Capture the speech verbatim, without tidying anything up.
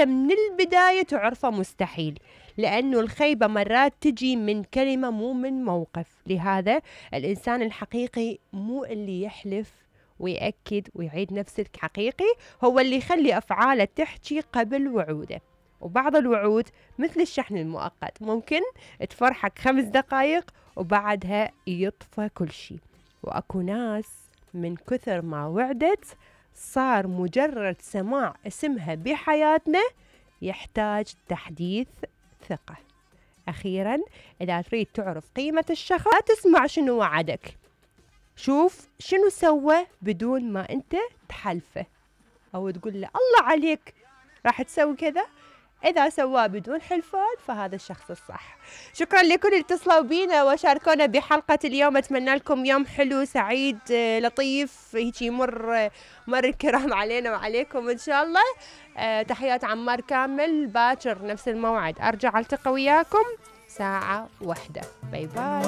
من البداية تعرفه مستحيل، لأنه الخيبة مرات تجي من كلمة مو من موقف. لهذا الإنسان الحقيقي مو اللي يحلف ويأكد ويعيد نفس الحقيقي، هو اللي يخلي أفعاله تحكي قبل وعوده. وبعض الوعود مثل الشحن المؤقت، ممكن تفرحك خمس دقايق وبعدها يطفى كل شي. وأكو ناس من كثر ما وعدت صار مجرد سماع اسمها بحياتنا يحتاج تحديث ثقة. أخيرا، إذا تريد تعرف قيمة الشخص لا تسمع شنو وعدك، شوف شنو سوى بدون ما أنت تحلفه أو تقول له الله عليك راح تسوي كذا. إذا سواه بدون حلفان فهذا الشخص الصح. شكرا لكل اللي اتصلوا بينا وشاركونا بحلقة اليوم. أتمنى لكم يوم حلو سعيد لطيف هيك يمر مر الكرام علينا وعليكم إن شاء الله. أه تحيات عمار كامل. باكر نفس الموعد أرجع ألتقي وياكم ساعة واحدة. باي باي.